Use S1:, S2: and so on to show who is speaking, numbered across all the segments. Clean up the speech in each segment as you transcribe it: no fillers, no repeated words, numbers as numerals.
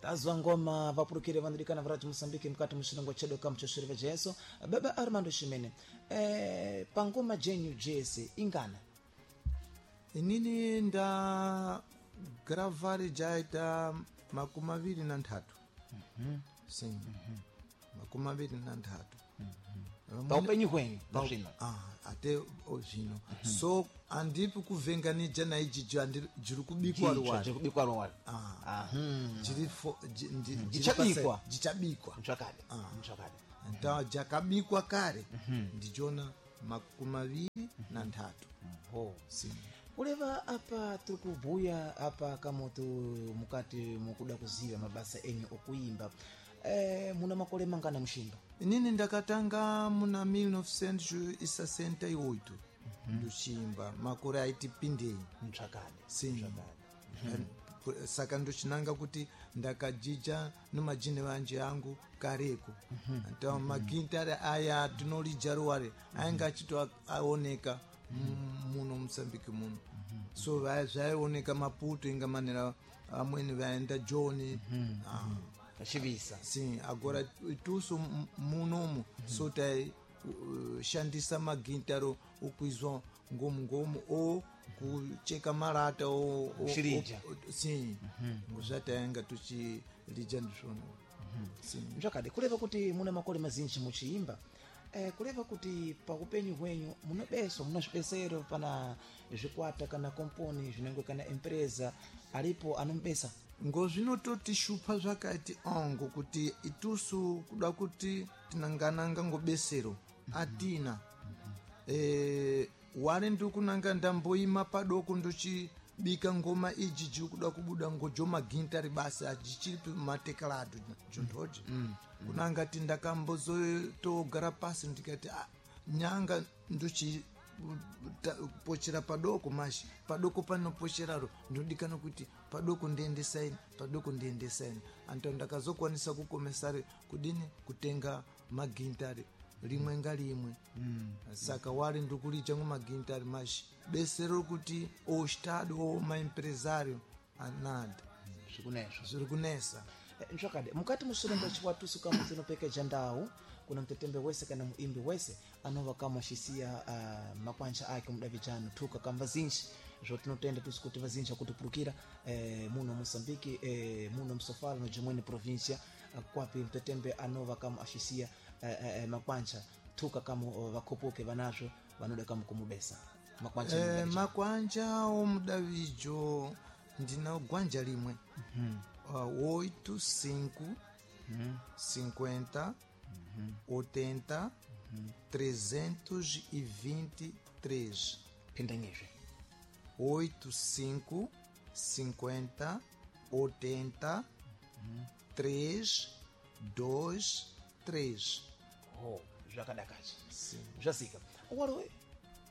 S1: Tazwa ngoma vapurukire vanodikana varati Mosambiki mukati muchirongwa chedu kamuchosvere Jesu. Baba Armando Ximene, pangoma jenyu jese ingana?
S2: Inini nda gravari jaita 23. Sim. 23.
S1: Paupenyu hwenyu zvino?
S2: Ah, ate zvino. So andipi kuvhenganija na iji jiri kubikwa ruwari.
S1: Jiri kubikwa ruwari.
S2: Ah. Jiri
S1: Jichabikwa.
S2: Jichabikwa.
S1: Nchakade. Nchakade.
S2: Nta jakabikwa kare. Ndijona 23.
S1: Oh.
S2: Sim.
S1: Kuleva apa tiri kubhuya apa kamoto mukati mukuda kuziva mabasa enyu okuimba. Muna makore mangana mushimba?
S2: Inini ndakatanga muna 1968 ndochiimba, makore aiti pindei.
S1: Ntsvakade.
S2: Sim. Saka ndochinanga kuti ndakajija nomajini vanje angu kareko. Então magintare aya tinolija ruware ainge achitoaoneka muno Mosambiki muno. So zvaioneka Maputo inga manera amweni vaenda Joni.
S1: Chivisa.
S2: Sim, agora itusu munomu so tai shandisa magintaro okuizwa ngomu ngomu ou kucheka marata ou
S1: Kuchirija.
S2: Sim, ngozvatainga tuchirija ndizvona. Sim.
S1: Ntsvakade, kureva kuti muna makore mazinji muchiimba. Kureva kuti paupenyu hwenyu munobeso muna zvibesero pana zvikwata kana komponi zvinenge kana empresa aripo anomubesa?
S2: Ngozvinototishupa zvakati ngokuti itusu kuda kuti tinangananga ngobesero atina. Wari ndikunanga ndamboima padoko ndochibika ngoma iji jiri kuda kubuda ngojo magintari basi ajichiri mateklado jondhoje. Kunanga ti ndakambozotogara pasi ndikati nyanga ndochi pochera padoko mashi padoko panopocheraro ndinodikana kuti padoko ndiendesaini padoko ndiendesaini anto ndakazokwanisa kukomesare kudini kutenga magintari limwe nga limwe. Saka wali ndikulija ngo magintari mashi besero kuti o estado ou maempresário anada
S1: Zvikunezvo
S2: zviri kunesa.
S1: Ntsvakade, mukati muchirongwa chiwatusu kamwe tinopekeja ndau kuna mtetembe wese kana muimbi wese anova kama achisiya makwanja ake mudavijano thuka kamba zinji zvotinotenda tusu kuti vazinji akutipurukira muno Mosambiki, muno Msofala no jimweni província, kwapi mtetembe anova kama achisiya makwanja thuka kamo vakhopoke vanazvo vanoda kama kumubesa makwanja.
S2: Makwanja omudavijo ndina gwanja limwe. 8, 5, 50, 80, 323.
S1: Phindanyizve.
S2: 8, 5, 50, 80, 3, 2, 3.
S1: Oh, zvakadakacha zvasika waro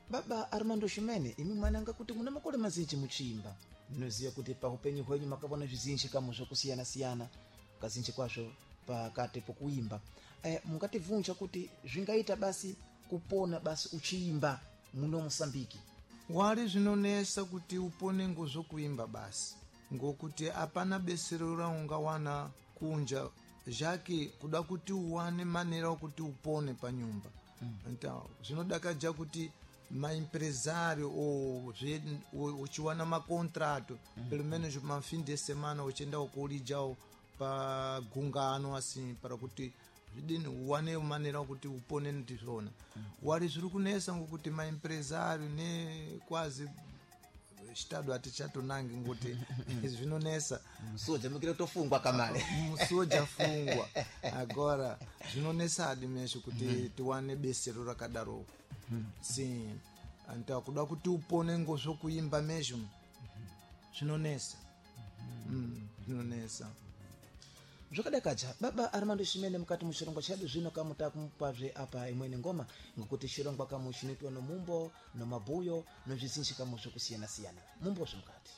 S1: baba Armando Ximene, imi mwananga kuti muna makore mazinji muchiimba, ndinoziva kuti paupenyu hwenyu makavona zvizinji kamo zvokusiyana-siyana kazinji kwazvo pakati pokuimba. Mungativhunja kuti zvingaita basi kupona basi uchiimba muno Mosambiki?
S2: Wari zvinonesa kuti upone ngozvokuimba basi ngokuti apana besero raungawana kunja zvake kuda kuti uwane manera okuti upone panyumba. Então zvinodakaja kuti maempresário ou uchiwana macontrato pelo menos mafim de semana uchienda kulijawo pagungano assim para kuti zvidini uwane manera okuti upone ndizvona. Wari zviri kunesa ngokuti maempresário ne kwazi estado atichatonangi ngokuti zvinonesa.
S1: Musuwo mukire kutofungwa kamale.
S2: Musuwo jafungwa agora zvinonesa adi mesho kuti tiwane besero rakadaro. Sim, então kuda kuti upone ngozvokuimba mesmo zvinonesa. Zvinonesa.
S1: Zvakadakaja baba Armando Ximene, mukati muchirongwa chedu zvino kamuta kumupazve apa imweni ngoma ngokuti chirongwa kamu chinoitwa nomumbo nomabhuyo nozvizinji kamu zvokusiyana-siyana mumbozve mukati.